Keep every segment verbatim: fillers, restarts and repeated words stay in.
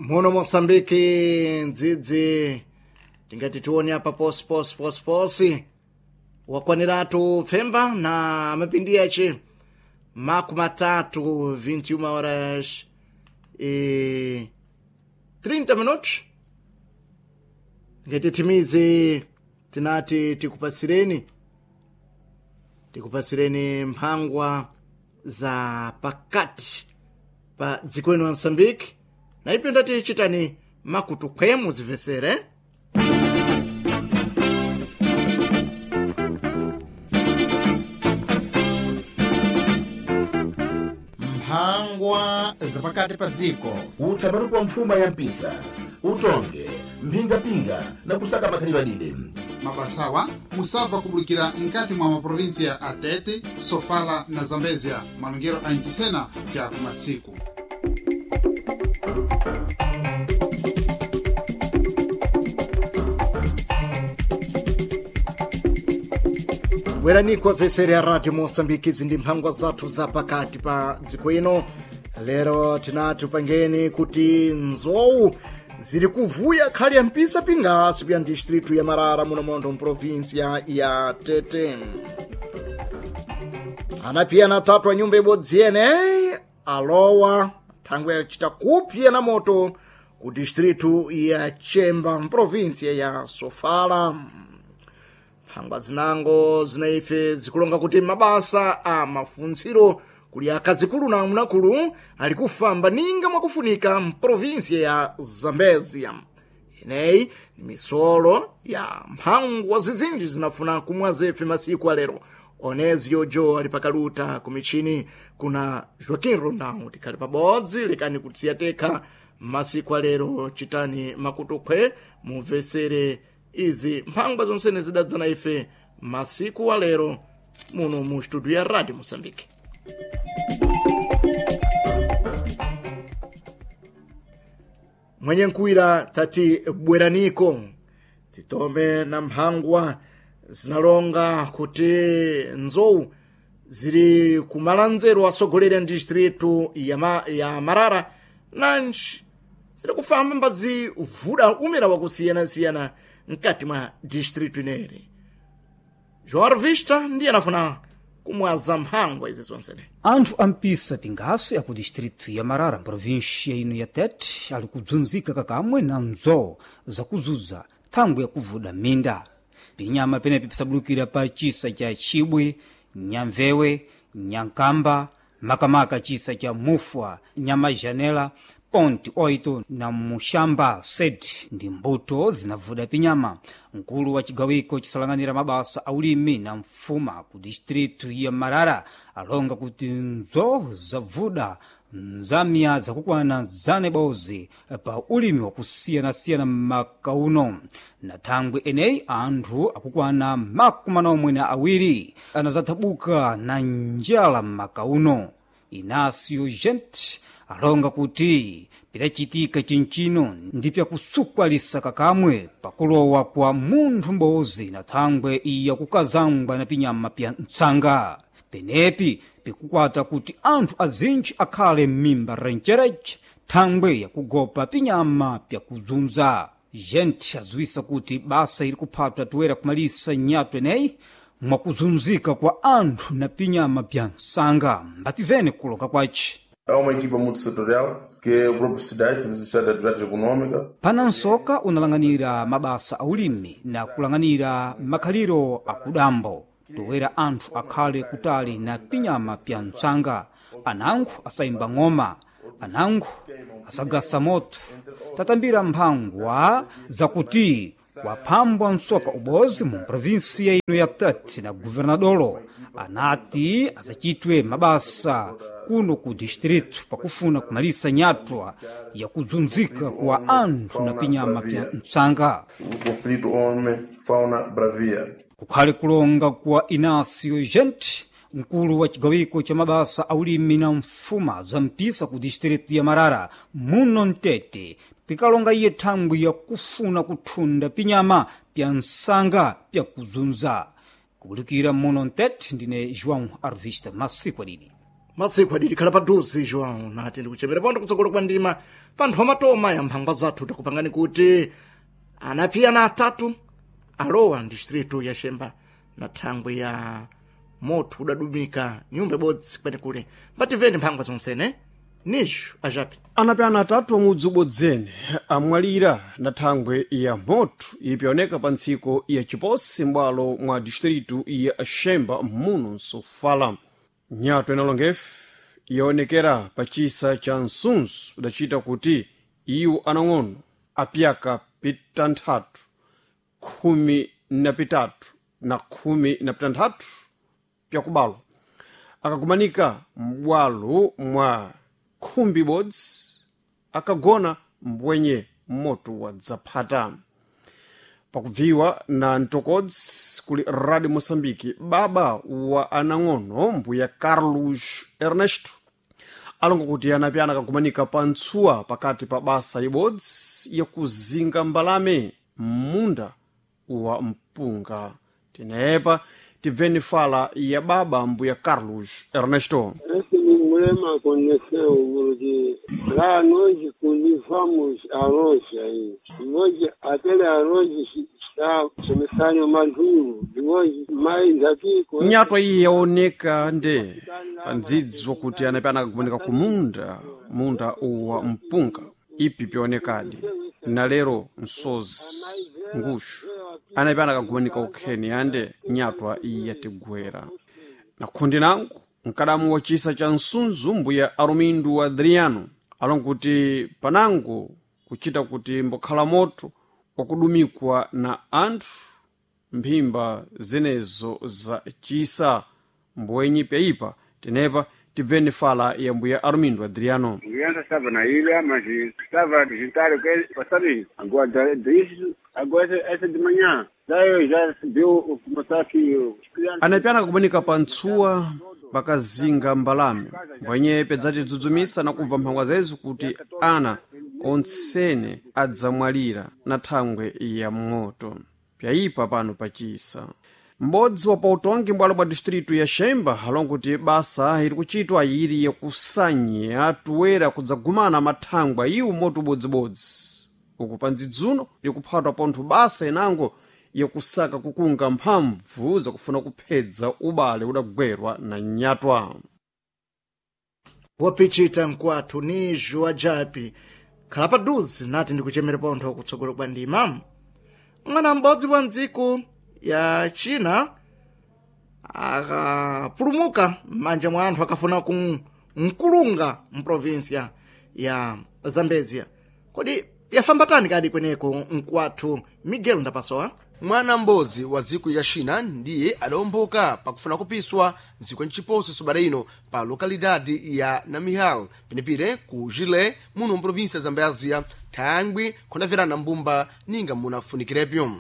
Muno Moçambique ndzidzi tingati tione apa posi posi posi posi wakwaniratu pfemba na mapindi yace makumi matatu vinte e uma horas e trinta minutos. Ngati timize tinati tikupatsireni tikupatsireni mphangwa za pakati pa dziko ino la Moçambique na ipo ndati chitani makutu khwemu zimvesere. Mphangwa zapakati pa dziko. Utha kwa mfuma ya mpisa, utonge mphingapinga na kusaka makhalidwe adide. Mabasawa musabva kubulikira nkati mwa maprovinsia a Tete, Sofala na Zambezia, malongero a Ncisena kya kumatsiku. Bwerani kwa ya Radio Moçambique, izi ndi mphangwa zathu za pakati pa dziko ino. Lero tinati upangeni kuti nzowu ziri kuvuya khali ya mpisa pingasi kuya distritu ya Marara muno mondo mprovinsia ya Tete. Anapiyana atatu a nyumba ibodzi yene alowa thangwe yachita kupya na moto ku distritu ya Chemba mprovinsia ya Sofala. Mphangwa zinango zinaife zikulonga kuti mabasa a mafuntsiro kuli akazikulu na amnakulu ali kufamba ninga mwakufunika mprovinsia ya Zambezia. Ineyi ni misolo ya mphangwa zizinji zinafuna kumwa zefe masiku alero. Onezio Jo ali pakaluta kumichini kuna Joaquim Rondão. Tikhali pabodzi lekani kutsiya tekha masiku alero, chitani makutukhwe mumvesere izi mphangwa zonsene zidadzana ife masiku alero muno mu studio ya Radio Moçambique. Mwenye nkuwira tati bweraniko titome na mphangwa zinalonga kuti nzowu ziri kumalanzero asogolera distritu ya, ma, ya Marara nanji ziri kufamba mbazivuda umira wakusiyanasiyana mkati mwa distritu ineri. João Vista ndiye anafuna kumwaza mphangwa izi zonsene. Anthu ampisa pingaso aku distritu ya Marara provinsia ino ya Tete ali kudzunzika kakamwe na nzowu zakuzuza thangwe yakuvuda minda. Pinyama penepi pisabulukira pa chisa cha Chibwe, Nyamvewe, Nyankamba, makamaka chisa cha Mufwa, Nyamajanela, Ponte oito na Muxamba sete ndi mbuto zinavuda pinyama. Mkulu wa cigawiko cisalang'anira mabasa a ulimi na mfuma ku distritu ya Marara alonga kuti nzowu zavuda nzamya zakukwana zane bozi pa ulimi wakusiyanasiyana m'maka uno. Na thangwe eneyi anthu akukwana makumi anomwe na awiri anazathabuka na njala m'maka uno. Inácio Gente alonga kuti pidacitika cincino ndi pyakusukwalisa kakamwe pakulowa kwa munthu m'bozi na thangwe iya kukazangwa na pinyama pya ntsanga. Penepi pikukwata kuti anthu azinji akhale m'mimba rencereche thangwe yakugopa pinyama pyakuzunza. Gente aziwisa kuti basa ili kuphatwa toera kumalisa nyatwa eneyi mwakuzunzika kwa anthu na pinyama pya nsanga. Mbativene kuloka kwace. Há uma equipa multissetorial que é o Grupo Cidade, Serviço de Atividade Econômica. Pana nsoka unalanganira mabasa a ulimi na kulanganira makhaliro akudambo toera anthu akhale kutali na pinyama pya ntsanga. Anango asayimba ng'oma, anango asagasa moto. Tatambira mphangwa zakuti waphambwa msoka ubozi mu provinsia ino ya Tete na governadolo anati azacitwe mabasa kuno ku distritu pakufuna kumalisa nyatwa yakuzunzika kwa anthu na pinyama pya ntsanga. O conflito homem-fauna bravia. Kukhale kulonga kwa Inácio Gente, mkulu wa cigawiko ca mabasa a ulimi na mfuma za mpisa ku distritu ya Marara muno Mtete, pikalonga iye thangwi yakufuna kuthunda pinyama pya nsanga pyakuzunza. Kubulikira muno Mtete, ndine João Arvista masiku adidi. Masiku adili khala paduze João nati ndikuchemera pondo kutsogolo kwa ndima panthu amatoma ya mphangwa zathu takupangani kuti anapiyana atatu alowa distritu ya Xemba na thangwe ya moto udadumika nyumba ibodzi kwenekule mbatimveni mphangwa zonsene nishu ajapi. Anapyana atatu amudzi ubodzene amwalira na thangwe ya moto ipyoneka pa ntsiko ya Chiposi m'bwalo mwa distritu ya Xemba muno Nsofala. Nyato inalongefe yaonekera pa chisa cha Nsunzu idacita kuti iwo anang'ono apyaka pitanthatu, khumi na pitatu na khumi na pitanthatu pyakubalwa akakumanika m'bwalo mwa khumbi ibodzi akagona mbwenye moto wadzaphata. Pakubviwa na mtokodzi kuli Radio Moçambique, baba wa anang'ono mbuya Carlos Ernesto alonga kuti anapyana akakumanika pa ntsuwa pakati pa basa ibodzi yakuzinga mbalame m'munda wa mpunga. Tinepa tibveni fala ya baba mbuya Carlos Ernesto. Esse problema aconteceu porque lá nós cultivamos arroz aí. Hoje, aquele arroz está começando maduro. Depois, mais aqui... Nyatwa iyi yaoneka nde pa ndzidzi wakuti anapyana akakumanika ku munda munda wa mpunga ipi pyaonekadi na lero msozi nguxu anapyana akagumanika ukheni ande nyatwa iyi yatigwera na khundi nangu mkadamu wa chisa cha Nsunzu mbuya Arumindu Adriano alonga kuti panango kuchita kuti mbokhala moto wakudumikwa na anthu mphimba zenezo za chisa mbwenyi pyayipa. Tenepa tibveni fala ya mbuya Armindo Adriano. Criança estava na ilha, mas estava a jantar o que passado isso. Agora, disso, agora essa de manhã. Daí já recebeu o começar que os crianças. Anapyana kumanika pa ntsuwa pakazinga mbalame mbwenye pedzatidzidzumisa na kubva mphangwa zezo kuti ana ontsene adzamwalira na thangwe ya moto pyayipa pano pachisa. M'bodzi wa pautongi m'bwalo bwa distritu ya Xemba alonga kuti basa iri kuchitwa ili yakusanya tuwera kudzagumana mathangwa iwo moto ubodzibodzi uku pa ndzidzuno likuphatwa pontho basa inango yakusaka kukunga mphamvu zakufuna kuphedza ubale udagwerwa na nyatwa. Wapichita mkwathu nijo ajapi khala paduze nati ndikuchemera pontho kutsogolo kwa ndima mwana m'bodzi wa ndziko ya China akapulumuka m'manja mwa anthu akafuna ku mkulunga mprovinsia ya Zambezia. Kodi yafamba tani kadi kweneko mkwathu Miguel Ndapasowa? Mwana m'bodzi wa dziko ya China ndiye adawomboka pakufuna kupiswa ndziko mchiposi sobada ino pa lokalidade ya Namihal penepire ku Jile muno mprovinsia ya Zambezia thangwi khondaverana mbumba ninga munafunikirepo.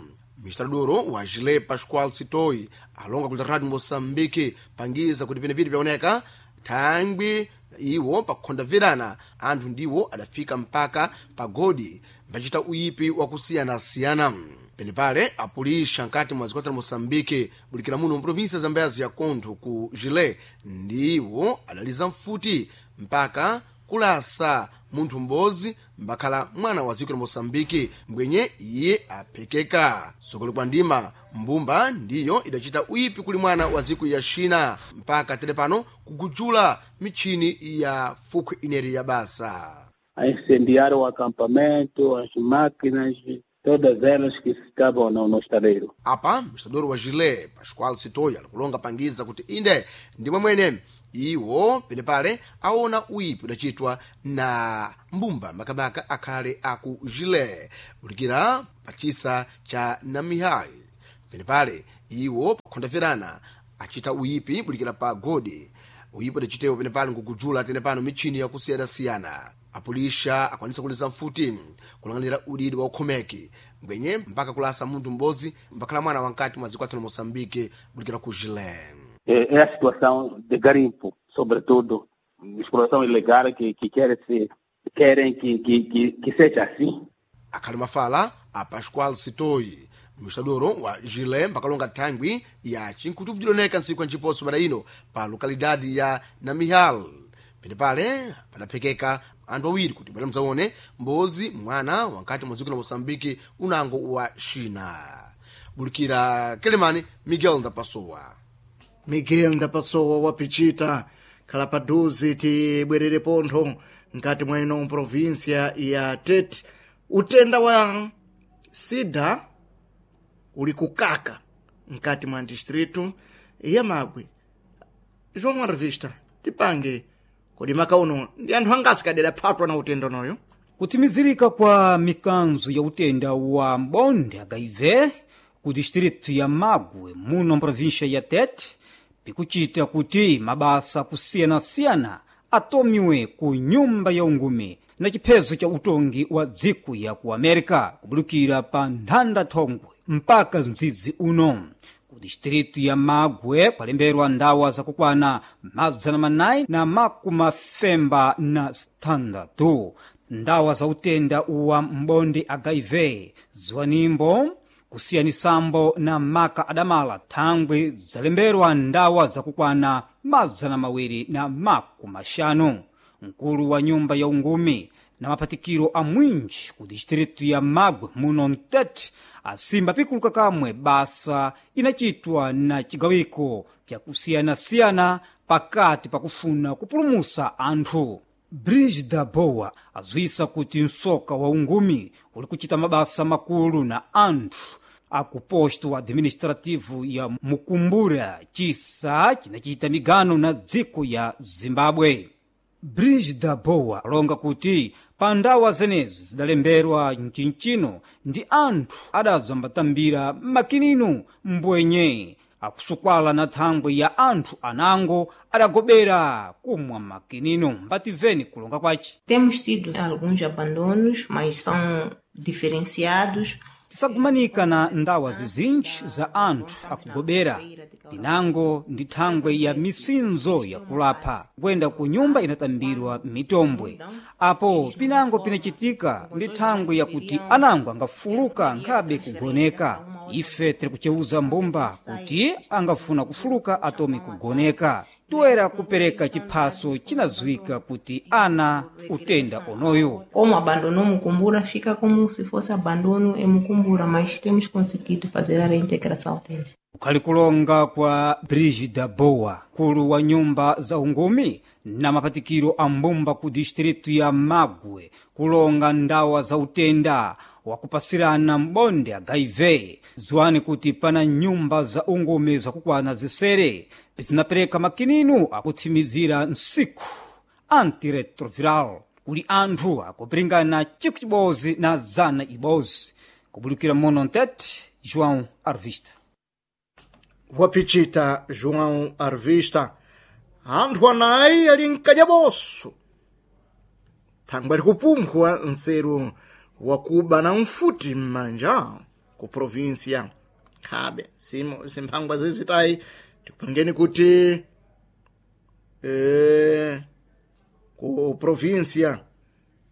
Mistradoro wa Jile Pascoal Sitoi alonga kula Radio Moçambique pangiza kuti penepire pyaoneka thangwi iwo pakukhondaverana anthu ndiwo adafika mpaka pagodi mbachita uyipi wakusiyanasiyana. Penepale apulisha nkati mwa zikwata la Moçambique bulikira muno mprovinsia ya Zambezia kontho ku Jile ndiwo adaliza mfuti mpaka kulasa munthu m'bodzi mbakhala mwana wa dziko la Moçambique mbwenye iye aphekeka. Sokolo kwa ndima mbumba ndiyo idachita uyipi kuli mwana wa dziko ya China mpaka tere pano kugujula michini ya fukhwe ineri ya basa. Incendiaram o acampamento, as máquinas, todas elas que estavam no, no estaleiro. Apa mistadoro wa Jile Pascoal Sitoya alikulonga pangiza kuti inde ndimwe mwene iwo penepale aona uyipi udachitwa na mbumba makamaka akhale aku Jile bulikira pachisa cha Namihai. Penepale iwo pakhondaverana achita uyipi bulikira pa godi uyipi udachitewo penepale nkugujula tenepano michini yakusiyanasiyana. Apulisha akwanisa kuliza mfuti kulang'anira udidi wa ukhomeki mbwenye mpaka kulasa munthu m'bodzi mbakhala mwana wankati mwa dziko athu la Moçambique bulikira ku Jile. É, é a situação de garimpo, sobretudo, exploração ilegal que, que querem, se, querem que, que, que, que seja assim. Akhali mafala a Pascoal Sitoi Administradoro wa Gilé mpakalonga thangwi ya chinkhutuvu cidoneka ntsiku ya nciposo pada ino pa lokalidade ya Namihal. Penepale padaphekeka anthu awiri kuti bwera mudzaone mbozi mwana wankati mwa dziko la Moçambique unango wa China. Bulikira Kelemani Miguel Ndapasowa. Miguel Ndapasowa wapichita khala paduzi tibwerere pontho nkati mwa ino provinsia ya Tete. Utenda wa sida uli kukaka nkati mwa distritu ya Magwe. João Revista tipange kodi maka uno ndi anthu angasi kadera phatwa na utenda unoyo. Kutimizirika kwa mikanzo ya utenda wa mbonde H I V ku distrito ya Magwe muno mprovíncia ya Tete pikuchita kuti mabasa kusiyana-siyana atomiwe ku nyumba ya ungumi na chiphezo cha utongi wa dziko ya ku America kubulukira pa nthanda thongwe mpaka mdzidzi uno. Ku distrito ya Magwe kwalemberwa ndawa zakukwana madzana manayi na makumafemba na sitandatu ndawa za utenda wa mbonde H I V ziwanimbo kusiyanisambo na maka adamala thangwi zalemberwa ndawa zakukwana mazana mawiri na makumaxanu. Mkulu wa nyumba ya ungumi na maphatikiro a mwinji ku distritu ya Magwe muno Mtete asimba pikuluka kamwe basa inachitwa na chigawiko chakusiyanasiyana pakati pakufuna kupulumusa anthu. Brigida Boa azwisa kuti msoka wa ungumi uli kuchita mabasa makulu na anthu akuposto administrativo ya Mukumbura chisa chinachita migano na dziko ya Zimbabwe. Brigida Boa alonga kuti pa ndawa zenezi zidalemberwa mchinchino ndi anthu adazambatambira makinino mbwenye akusukwala na thangwi ya anthu anango adagobera kumwa makinino. Mbativeni kulonga kwace. Temos tido alguns abandonos, mas são diferenciados. Tisagumanika na ndawa zizinji za anthu akugobera pinango ndi thangwe ya misinzo yakulapha kuyenda ku nyumba inatambirwa mitombwe apo pinango pinachitika ndi thangwe yakuti anango angafuluka nkhabe kugoneka. Ife tiri kucheuza mbumba kuti angafuna kufuluka atome kugoneka toera kupereka chiphaso chinadziwika kuti ana utenda onoyo. Como abandonou Mucumbura, fica como se fosse abandono em Mucumbura, mas temos conseguido fazer a reintegração deles. Kukhali kulonga kwa Brigida Boa, mkulu wa nyumba za ungumi na mapatikiro a mbumba ku distritu ya Magwe, kulonga ndawa za utenda wakupasirana mbonde H I V. Ziwani kuti pana nyumba za ungumi zakukwana zisere zinapereka makininu akutsimizira nsiku antiretroviral kuli anthu akupiringana chiku chibozi na zana ibozi. Kubulukira mono Ntete, João Arvista. Wapichita João Arvista. Anthu anayi ali mkajaboso thangwe ali kupumphwa nseru wakuba na mfuti m'manja ku provinsia khabe simphangwa zizitayi tikupangeni kuti e, ku provinsia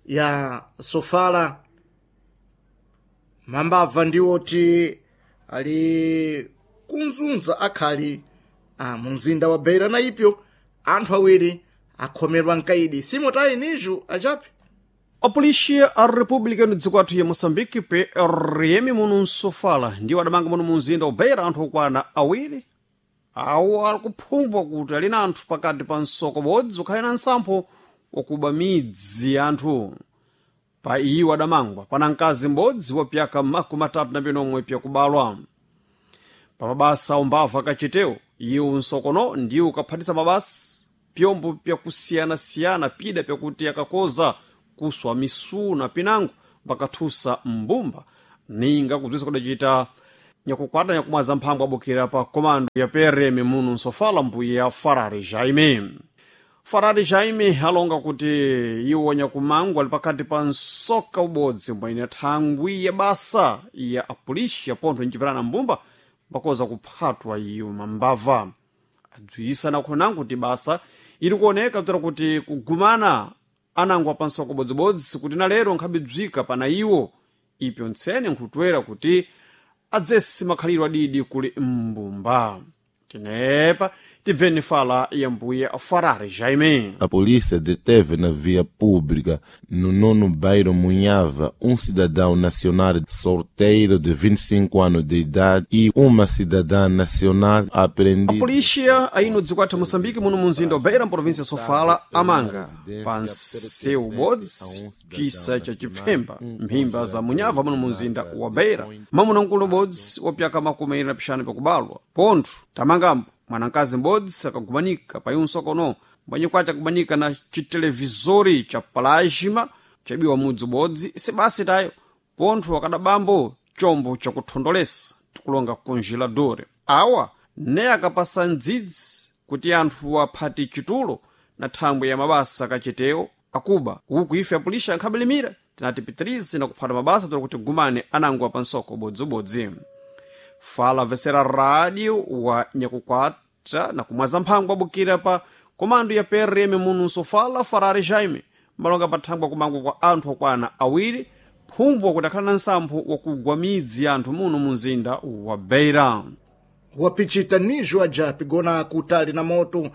ya Sofala mambabva ndiwoti ali kunzunza akhali a mumzinda wa Beira na ipyo anthu awiri akhomerwa mkaidi simotayi niju achapi. Apolixia a República no dziko athu ya Moçambique P R M muno msofala ndiwo adamanga muno mumzinda wa Beira anthu okwana awiri awo ali kuphumbwa kuti ali na anthu pakati pa msoko bodzi ukhale na nsampho wakuba midzi ya anthu. Pa iwo adamangwa pana mkazi m'bodzi wa pyaka makumi atatu na pinomwe pyakubalwa. Pa mabasa umbava akachitewo iwo nsokono ndiwo ukaphatisa mabasa pyombo pyakusiyanasiyana pida pyakuti akakoza kuswa misuna pinango pakathusa mbumba ninga kubzisa kudacita nyakukwata nyakumwaza mphamvu abukira pa komando ya P R M muno nsofala mbuya Farari Jaime. Farari Jaime alonga kuti iwo nyakumangu ali pakati pa nsoka ubodzi mbwene thangwi ya basa ya apolisi apontho nchipirana mbumba pakoza kuphatwa iyo mambava. Adzwisa nakhonangu kuti basa ili kuoneka kudzera kuti kugumana anango pa nsoko bodzibodzi kuti na lero nkhabidzwika pana iwo ipyo ntsene nkhutwera kuti adzesi makhaliro adidi kuli mbumba. Tenepa tibveni fala ya mbuya Farare Jaime. A polícia deteve na via pública, no nono bairro Munhava, um cidadão nacional solteiro de vinte e cinco anos de idade e uma cidadã nacional apreendida. A polícia aí no Dzikwatha Moçambique, muno munzinda wa Beira, província Sofala, amanga panseu bodzi chisa cha chipfemba mphimba za Munhava muno munzinda wa Beira, mamuna nkulu bodzi wapyaka makumi awiri na pixanu pakubalwa pontho tamangambo mwanankazi m'bodzi akagumanika payunso kono mbwanyi kwace akumanika na chitelevizori cha plasma chabiwa mudzi ubodzi sibasi tayo pontho akadabambo chombo chakuthondolesa tikulonga congelador. Awa ne akapasa ndzidzi kuti anthu aphati chitulo na thangwe ya mabasa akachetewo akuba uku ife apulisha ankhabelimira tinati pitirize na kuphata mabasa tola kuti gumane anango apansoko bodzibodzi. Fala vesera rádio wa nyakukwata na kumwaza mphango abukira pa komando ya P R M munu Sofala Farare Jaime malonga pathangwa kumangwa kwa anthu okwana awiri phumbo kuti akhala na nsampho wakugwa midzi ya anthu muno mu mzinda wa Beira. Wapichita nijo aja pigona kutali na moto.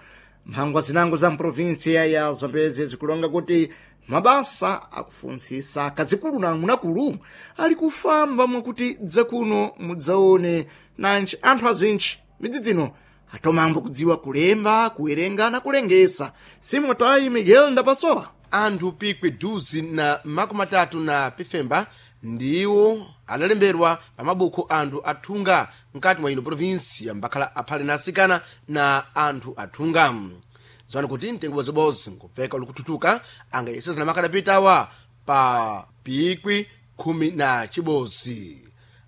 Mphangwa zinango za mprovinsia ya Zambezi zikulonga kuti mabasa akufuntsisa kazikulu na munakulu ali kufamba mwakuti dzakuno mudzaone nanji anthu azintchi midzi dzino atomambo kudziwa kulemba, kuwerenga na kulengesa. Simotayi Miguel Ndapasowa. Anthu pikwi duzi na makumi atatu na pifemba ndiwo adalemberwa pa mabuku anthu athunga mkati mwa ino provinsia mbakhala aphale na asikana na anthu athunga. Ziwani kuti mtengo bozibozi nkupfeka ulikuthuthuka angayesezana makadapitawa pa pikwi khumi na chibodzi.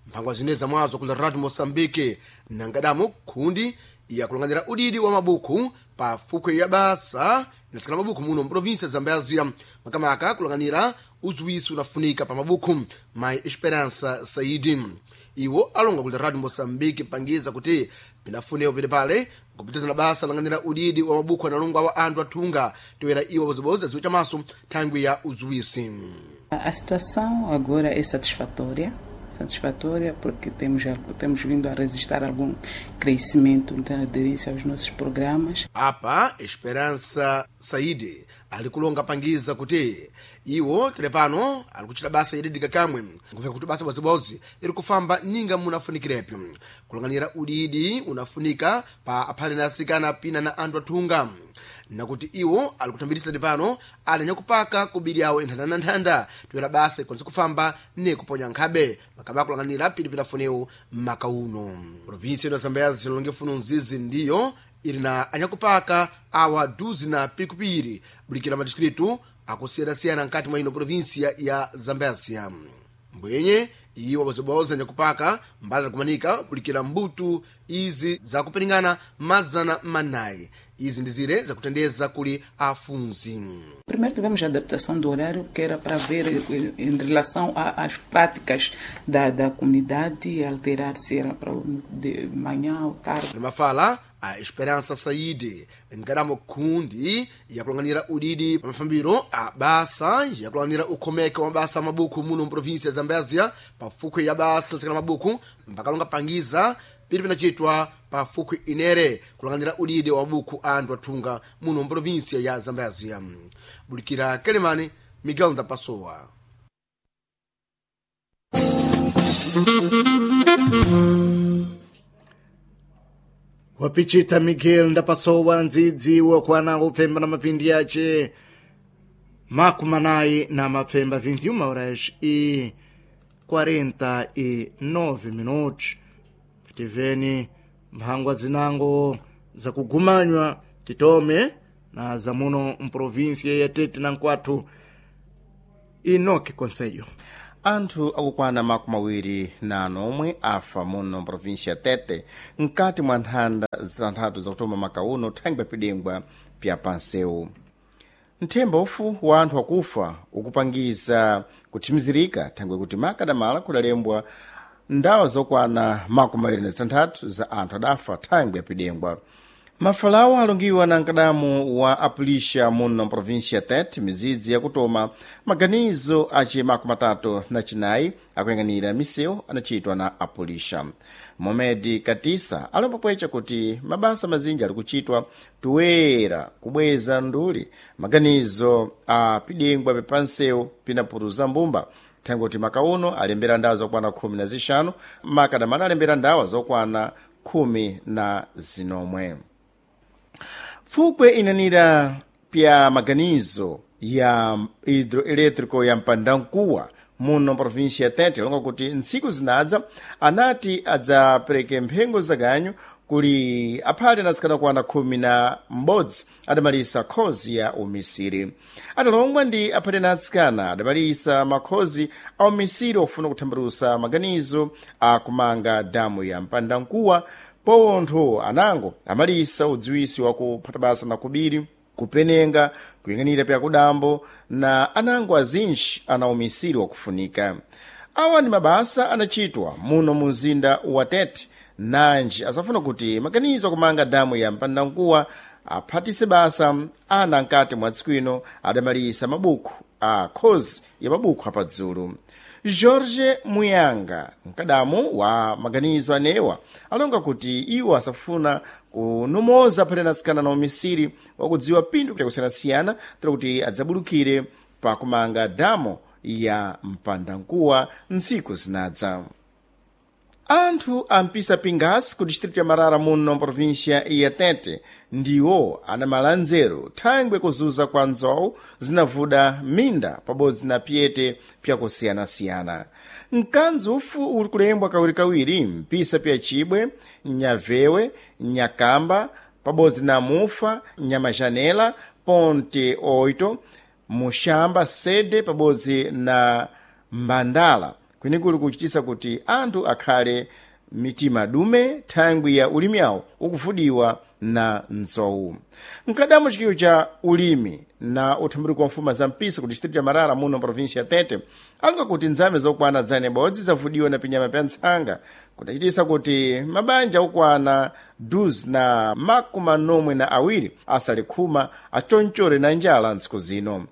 Mphangwa zine zamwazo kula Radio Moçambique nangadamo khundi yakulanganyira udidi wa mabuku pa fukwe ya basa inatsikana mabuku muno mprovinsia ya Zambezia, makamaka kulanganyira uziwiso unafunika pa mabuku. Mai Esperança Saidi iwo alonga kula Radio Moçambique pangiza kuti pinafunewo pene pale nkupitizana basa langanyira udidi wa mabuku analongwa wa anthu athunga toera iwo bozibozi aziwo chamaso thangwi ya uziwisi. A situação agora é satisfatória, satisfatória porque temos, temos vindo a registrar algum crescimento na aderência aos nossos programas. Apa Esperança Saidi ali kulonga pangiza kuti iwo telepano ali kuchita basa yedidika kamwe nkufika kuti basa bozibozi iri kufamba ninga munafunikirepo kulanganyira udidi unafunika pa aphale na asikana pina na anthu athunga nakuti iwo ali kutambirisa pano ali nyakupaka kubiri awo enthanda na nthanda toyera basa ikwanisa kufamba ne kuponya nkhabe makaba akulanganira pilipili afunewo maka uno. Provinsia ino ya Zambezi zilonge funo nzizi ndiyo ili na anyakupaka awa duzi na pikupiri bulikira madistritu akusiyana-siyana nkati mwa ino provinsia ya Zambezia. Mbwenye iwo bozibozi anyakupaka mbali akumanika bulikira mbutu izi zakupiringana mazana manayi izi ndi zire zakutendeza kuli afunzi. Primeiro tivemos a adaptação do horário, que era para ver em relação a, às práticas da, da comunidade, alterar se era para de manhã ou tarde. Mafala a Esperança Saide nkaramo kundi yakulanganira udidi pamafambiro a basa yakulanganira ukhomeke wa mabasa amabuku muno mprovinsia ya Zambezia pa fukwe ya basa litsikana mabuku mpakalonga pangiza pili pinachitwa pa fukwe inere kulanganira udidi wa mabuku anthu athunga muno mprovinsia ya Zambezia. Bulikira Kelemani, Miguel Ndapasowa. Wapichita Miguel Ndapasowa ndzidzi wakwana upfemba na mapindi yace makumi na mapfemba vinte e uma horas e quarenta e nove minutos. Tiveni mphangwa zinango zakugumanywa titome na zamuno mprovinsia ya Tete na nkwathu Enoque Conselho. Anthu akukwana makumi awiri na anomwe afa muno mprovinsia ya Tete mkati mwa nthanda zanthatu zakutoma makauno thangwi apidengwa pya pansewu. Nthemba ufu wa anthu akufa ukupangiza kuthimizirika thangwi kuti makadamala kudalembwa ndawa zokwana makumi awiri na zitanthatu za anthu adafa thangwi yapidengwa. Mafalawo alongiwa na mkadamu wa apulisha muno mprovinsia Tete mizidzi yakutoma maganizo aci makumi atatu na cinayi akuyang'anira misewu anacitwa na apulisha. Momedi Katisa alomba pwecha kuti mabasa mazinji ali kuchitwa toera kubweza nduli maganizo a pidengwa pepansewu pinapuruza mbumba, thangwe kuti maka uno alembera ndawa zokwana khumi na zixanu, makadamana alembera ndawa zokwana khumi na zinomwe. Pfupwe inanira pya maganizo ya hidroelétrico ya Mpandankuwa muno província ya Tete longa kuti ntsiku zinadza anati adzapereke mphengo zaganyu kuli aphale anatsikana kwana khumi na m'bodzi adamalisa khozi ya umisiri. Adalongwa ndi aphale na atsikana adamalisa makhozi a umisiri ofuna kuthambalusa maganizo a kumanga damu ya Mpandankuwa, pontho anango amalisa udziwisi wa kuphata basa na kubiri, kupenenga, kuyang'anira pyakudambo na anango azinji ana umisiri wakufunika. Awa ni mabasa anachitwa muno mu mzinda wa Tete, nanji asafuna kuti maganizo akumanga damu ya Mpandankuwa aphatise basa ana nkati mwa tsiku ino adamalisa mabuku a khozi ya mabuku apadzulu. Jorge Muyanga, mkadamu wa maganizo anewa, alonga kuti iwo asafuna kunomoza phale natsikana na umisiri wakudziwa pindu kusiyanasiyana tira kuti adzabulukire pakumanga damo ya Mpandankuwa ntsiku zinadza. Anthu ampisa Pingas ku distrito ya Marara muno mprovíncia ya Tete ndiwo anamala nzeru thangwe kuzuza kwa nzowu zinavuda minda pabodzi na pyete pyakusiyanasiyana. Mkanzi ufu uli kulembwa kawirikawiri mpisa pya Chibwe, Nyavewe, Nyakamba pabodzi na Mufa, Nyamajanela, Ponte Oito, Muxamba Sede pabodzi na Mbandala, kwenikuli kuchitisa kuti anthu akhale mitima dume thangwi ya ulimi awo ukufudiwa na nzowu. Mkadamu chikiwo cha ulimi na uthambuliko wa mfuma za mpisa ku distrito ya Marara muno província ya Tete anga kuti nzame zokwana dzane bodzi zavudiwa na pinyama pya ntsanga kudachitisa kuti mabanja okwana duzi na makumi manomwe na awiri asale khuma achonchore na njala ntsiku zino.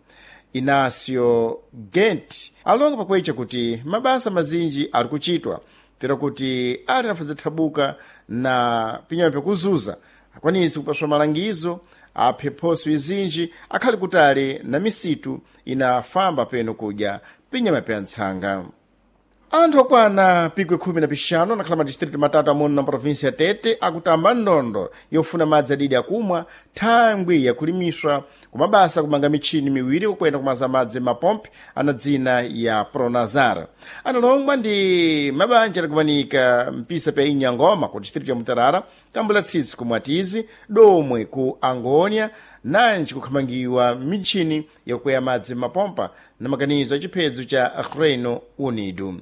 Inácio Gent alonga pakwecha kuti mabasa mazinji ali kuchitwa tera kuti ali nafuzithabuka na pinyama pyakuzuza akwanise kupaswa malangizo aphe phoso izinji akhali kutali na misitu inafamba peno kudya pinyama pya ntsanga. Anthu okwana pikwi khumi na pixanu anakhala madistritu matatu amuno na província ya Tete akutamba ndondo yofuna madzi adidi akumwa thangwi yakulimiswa kumabasa kumanga mitchini miwiri kukwenda kumaza madzi mapompi ana dzina ya Pronazar. Analongwa ndi mabanja adakumanika mpisa pya Inyangoma ku distritu ya Mutarara, Kambula Tsitsi ku Mwatizi, Domwe ku Angônia, nanji kukhamangiwa mitchini yakukwea madzi mapompa na maganizo a chiphedzo cha Reino Unido.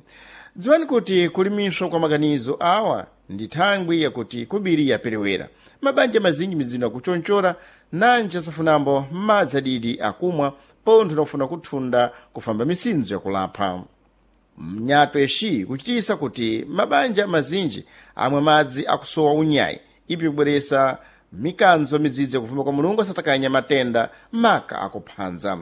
Dziwani kuti kulimiswa kwa maganizo awa ndi thangwi yakuti kubiri yaperewera mabanja mazinji mizindo akuchonchora nanji asafunambo madzi adidi akumwa pontho nakufuna kuthunda kufamba misinzo yakulapha mnyato exi kuchitisa kuti mabanja mazinji amwe madzi akusowa unyayi ipi kubweresa mikanzo midzidzi yakufuma kwa Mulungu asatakanya matenda maka akuphanza.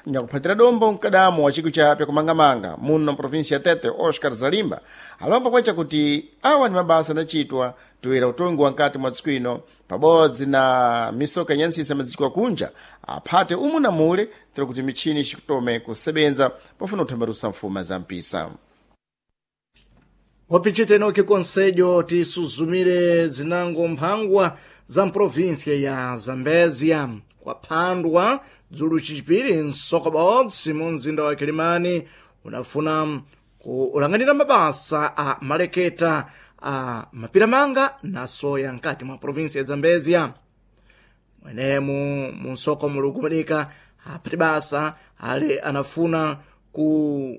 Nyakuphatira dombo mkadamo wa chikwi cha pyakumangamanga muno mprovinsia ya Tete Oscar Zalimba alomba kwacha kuti awa ni mabasa anachitwa toera utongi wa nkati mwa tsiku ino pabodzi na misoka inyantsisa madziko akunja aphate umu na mule tira kuti mitchini ixikutome kusebenza pofuna kuthambalusa mfuma za mpisa. Wapichita enoki konsejo tisuzumire zinango mphangwa za mprovinsia ya Zambezia kwaphandwa dzulu chipiri msoko bodzi mu mzinda wa Kilimani unafuna kulanganira mabasa a maleketa a mapiramanga na soya nkati mwa provinsia ya Zambezia. Mwenemu mu msoko muli kumanika aphati basa ale anafuna ku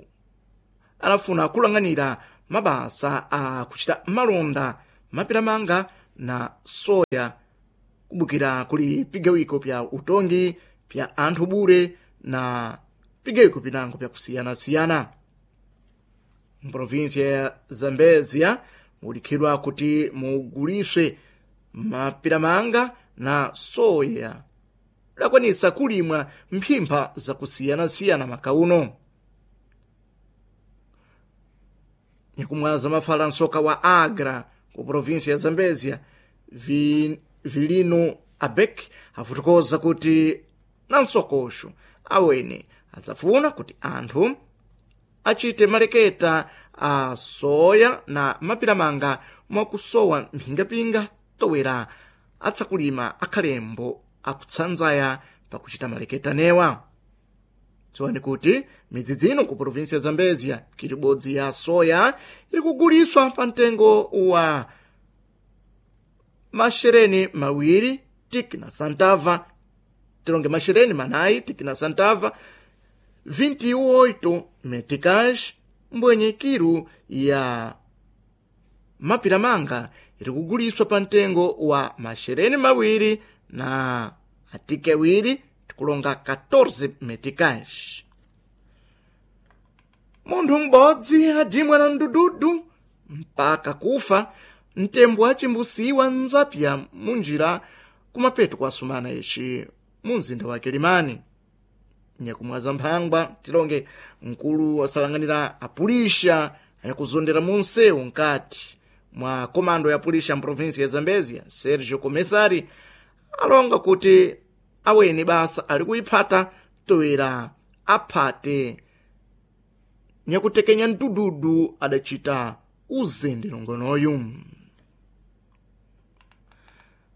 anafuna kulanganira mabasa a kuchita malonda mapiramanga na soya kubukira kuli pigawiko pya utongi pya anthu bure na pigawiko pinango pyakusiyanasiyana. Mprovinsia ya Zambezia mulikhidwa kuti muguliswe mapiramanga na soya dakwanisa kulimwa mphimpha zakusiyanasiyana makauno. Nyakumwaza mafala nsoka wa Agra ku provinsia ya Zambezia vi, Vilino Abek afotokoza kuti na msokosho awene adzafuna kuti anthu achite maleketa a soya na mapiramanga mwakusowa mphingapinga towera atsakulima akhalembo akutsanzaya pakuchita maleketa newa. Dziwani kuti midzidzi ino ku provinsi ya Zambezia kiribodzi ya soya iri kuguliswa pa mtengo wa mashereni mawiri tiki na santava, tilonge mashereni manayi tiki na santava vinte e oito meticais, mbwenye kiru ya mapiramanga iri kuguliswa pa mtengo wa mashereni mawiri na atike awiri tikulonga catorze meticais. Munthu m'bodzi adimwa na mdududu mpaka kufa mtembo acimbusiwa nzapya munjira kumapeto kwa sumana ici mu mzinda wa Kilimani. Nyakumwaza mphangwa tilonge mkulu asalanganira apulisha anyakuzondera munsewu nkati mwa komando ya pulisha mprovinsi ya Zambezia Sergio Comessari alonga kuti aweni basa ali kuiphata toera aphate nyakutekenya mdududu adacita uzende nongonoyu.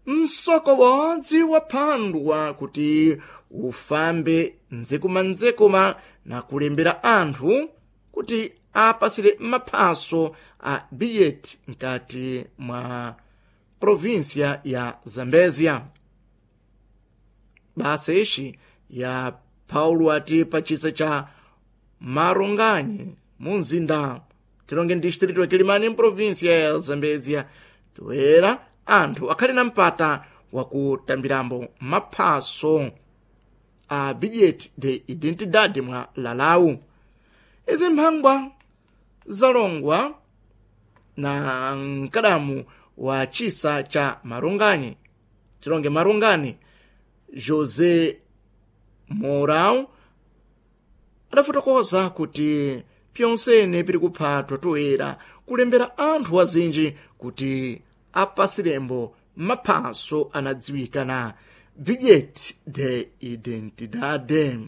Msoko wodzi waphandwa kuti ufambe nzekumanzekuma na kulembera anthu kuti apasire maphaso a bilhete mkati mwa província ya Zambezia. Basa ixi ya Paulo ati pachisa cha Maronganye mu mzinda tilonge distrito ya Kilimani mprovíncia ya Zambezia toera anthu akhali na mpata wakutambirambo maphaso a bilhete de identidade mwa lalau. Izi mphangwa zalongwa na mkadamu wa chisa cha Maronganye tilonge Marongani José Mourão adafotokoza kuti pyonsene piri kuphatwa toera kulembera anthu azinji kuti apasirembo maphaso anadziwika na bilhete de identidade.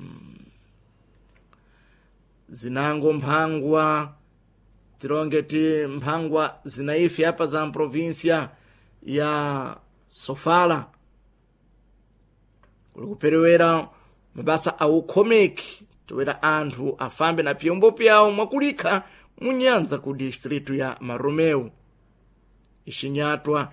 Zinango mphangwa tilonge ti mphangwa zinaife apa za mprovinsia ya Sofala kuli kuperewera mabasa a ukhomeki toera anthu afambe na pyombo pyawo mwakulikha munyanza ku distritu ya Maromeu. Ixinyatwa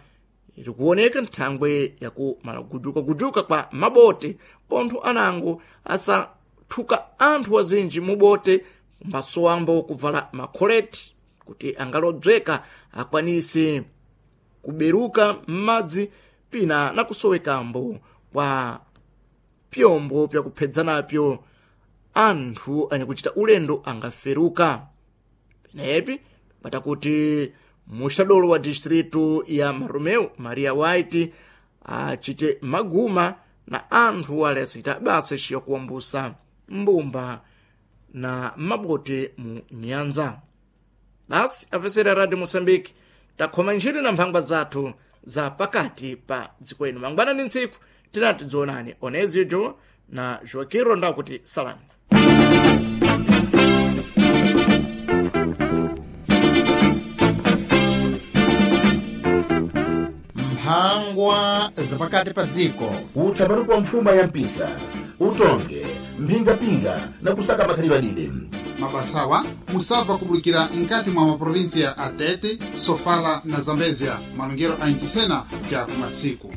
iri kuoneka nthangwe yakumalagujukagujuka kwa mabote pontho anango asathuka anthu azinji mubote mbasowambo kuvala makholeti kuti angalodzeka akwanise kuberuka m'madzi pina na kusowekambo kwa pyombo pyakuphedzanapyo anthu anyakuchita ulendo angaferuka. Penepi patakuti muxadolo wa distritu ya Maromeu Maria White achite maguma na anthu ale asita basa ixiya kuwambusa mbumba na mabote mu nyanza. Basi afesera Radio Moçambique takhoma ntchito na mphangwa zathu za pakati pa dziko ino. Mangwanani ntsiku tinati dzionani Onezijo na Joaquim Rondao kuti salamu. Mphangwa zapakati pa dziko. Utsamani kwa mfuma ya mpisa utonge mphingapinga na kusaka makhalidwe adide. Mabasawa musabva kubulikira nkati mwa maprovinsia a Tete, Sofala na Zambezia malongero a nchisena cha kumatsiku.